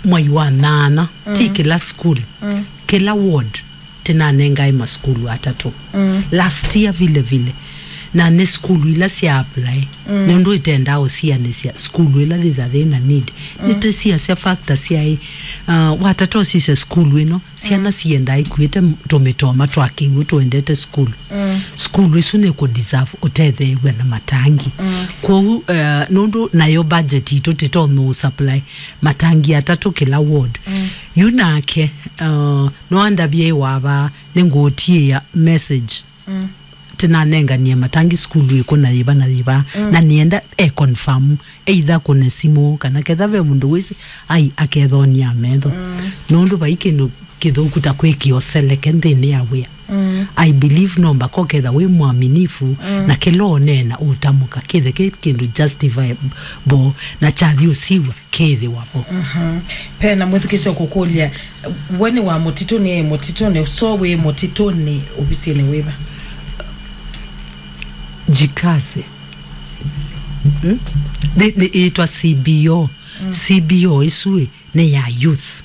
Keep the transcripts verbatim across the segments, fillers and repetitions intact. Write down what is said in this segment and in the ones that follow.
mwai wa nyanya, ti kĩla school, kĩla ward, tĩnanengae masukulu atatũ. Last year vile vile, na nĩ sukulu ila sya apply, nũndũ ĩtendaa ũsianĩsya sukulu ĩla yĩtha yĩna need. Nĩtĩsiasya factor syaĩ, uh, watata ũsisya sukulu ĩno, syana siendaa ikuĩte m-, tũmĩtoma twa kĩw'ũ tũendete sukulu. Sukulu ĩsu nĩkũ deserve ũtetheew'a na matangi. Kwoou, uh, nũndũ nayo budget itũ tĩtonya ũ supply matangi atatũ kĩla ward. Yu nake, uh, no andavye wava nĩngũtiĩa message. Tĩnanenganie matangi sukulu ĩkũ na yĩva na yĩva. Na nĩenda e confirm, either kũne simũ kana ketha ve mũndũ wĩsĩ, ai, akethonia metho. Nũndũ vai kĩndũ kĩthũku ta kwĩkĩa ũseleke nthĩnĩ ya wĩa. I believe no mbaka ũketha wĩ mwaminifu, na kĩla ũneena ũtamũka kĩthe kĩ kĩndũ justifiable na kyathi ũsiw'a kĩthĩwa vo. Pena mwĩthukĩsyo kũkũlya, we nĩ wa mũtitũnĩ, e mũtitũnĩ, so wĩ mũtitũnĩ ovisinĩ wĩva? Jikaze. Hmm? Nĩ, nĩ ĩtwa C B O. C B O ĩsu ĩ, nĩ ya youth.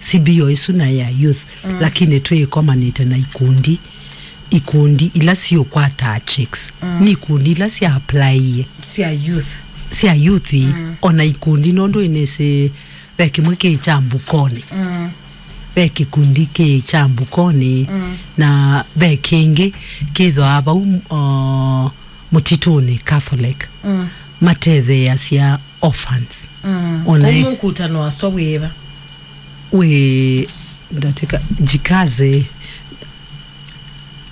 C B O ĩsu na ya youth, lakini twĩkomanĩte na ikundi, ikundi ila siũkwata chicks. Nĩ ikundi ila sya applyie. Sya youth. Sya youth, ona ikundi nũndũ ĩnĩsĩ ve kĩmwe kĩ kya Mbukoni. Ve kĩkundi kĩ kya Mbukoni, na ve kĩngĩ kĩthwaa vau, uh, mũtitũnĩ Catholic. Matetheeasya orphans. Ona kũu ĩ- mũkutano waswa wĩva? Wĩ ndatĩka Jikaze.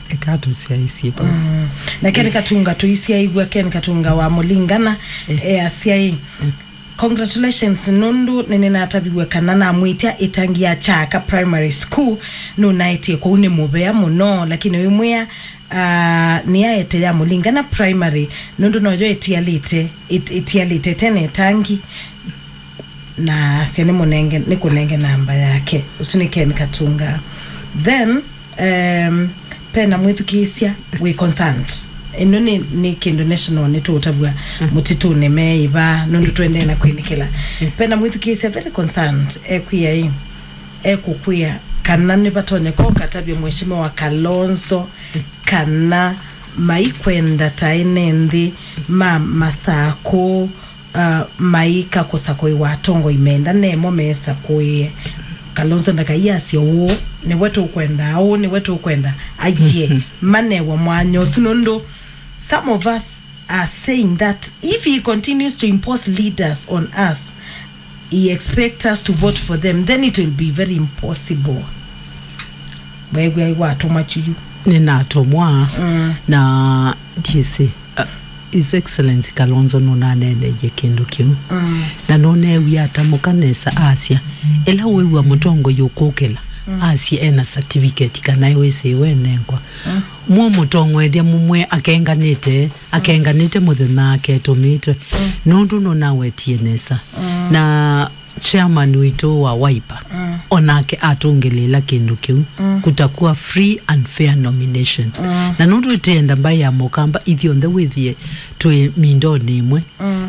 Eka tũsyaisye vau. Na Ken Katunga tũisyaĩw'a, Ken Katunga wa Mũlingana, easya ĩ, congratulations, nũndũ nĩnĩnataviw'e kana namwĩtya ĩtangi ya Kyaka Primary School nũnaetie kũu nĩ mũvea mũno, lakini wĩmwĩa, ah, nĩaete ya Mũlingana Primary, nũndũ noyo ĩtialĩte, ĩt-, ĩtialĩte tene ĩtangi, na asya nĩmũnenge, nĩkũnenge namba yake. Ũsu nĩ Ken Katunga. Then, um, pena mwĩthukĩĩsya wĩ concerned. Ĩno nĩ, nĩ kĩndũ national nĩtũũtavw'a mũtitũnĩ me ĩva, nũndũ tũendee na kwĩnĩkĩla. Pena mwĩthukĩĩsya very concerned, ekwĩa ĩ, ekũkwĩa kana nĩvatonyeka ũkatavya Mheshimiwa Kalonzo kana maikwenda ta ene nthĩ ma Masakũ, uh, maika kũsakũĩwa atongoi menda nemo mesakũĩe. Kalonzo ndakaiasye ũũ, nĩwe tũkwenda, ũũ nĩwe tũkwenda. Aiee, manewa mwanya ũsu nũndũ some of us are saying that if he continues to impose leaders on us, he expects us to vote for them, then it will be very impossible. Weew'a watũmwa kyuyu. Nĩnatũmwa, na ndiĩsĩ, uh, His Excellency Kalonzo nũnaneeneie kĩndũ kĩu. Na nũneewie atamũka nesa asya, ĩla wĩw'a mũtongoi ũkũkĩla, asya ena certificate kana wĩsĩwe enengwa. Mũmũtongoethya mũmwe akenganĩte, akenganĩte mũthenya aketũmĩtwe. Nũndũ nũnawetie nesa. Na chairman witũ wa Wiper, onake atũngĩlĩĩla kĩndũ kĩu, kutakuwa free and fair nominations. Na nũndũ ĩtĩenda mbaĩ ya Mũkamba ithyonthe wĩthĩe twĩ mindonĩ ĩmwe,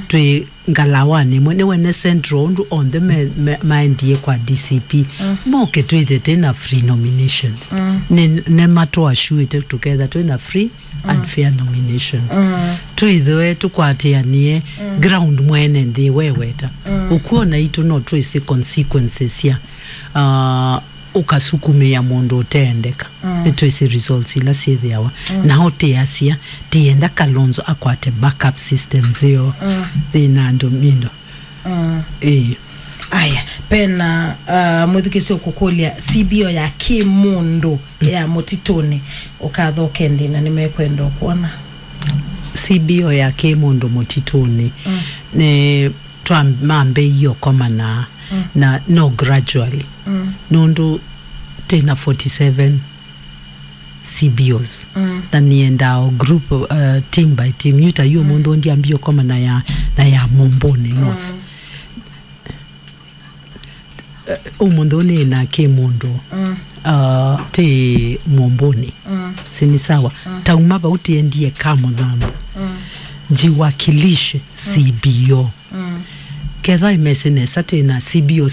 twĩ ngalawanĩ ĩmwe, nĩwene Central ũndũ onthe me, me, maendie kwa D C P, moke twĩthĩe twĩna free nominations. Nĩ, nĩmatũassuĩte tũketha twĩna free and fair nominations. Twĩthĩwe tũkwatĩanĩe ground mwene nthĩ weweta. Ũkw'o naitũ no twĩsĩ consequences sya, uh, ũkasukumĩa mũndũ ũteendeka. Nĩtwĩsĩ results ila syĩthĩawa. Na ũtĩasya, tĩenda Kalonzo akwate backup systems ĩyo thĩna andũ mindo. Ĩĩ. Aya, pena, uh, mwĩthukĩsyo kũkũlya C B O ya kĩmũndũ ya mũtitũnĩ ũkathoke ndĩ na nĩmekwenda ũkwona. C B O ya kĩmũndũ mũtitũnĩ nĩ twamambĩie ũkomana na no gradually. Nũndũ tĩna forty seven C B Os. Na nĩendaa o group, uh, team by team. Yu ta yu ũmũnthĩ ndiambie ũkomana ya, na ya Mũmbũnĩ North. Eh, ũmũnthĩ ũnĩ na kĩ mũndũ, uh, tĩ Mũmbũnĩ. Si ni sawa? Tauma vau tiendie ka mũthama. Njiwakilishe C B O. Ketha imesi nesa tĩ na C B O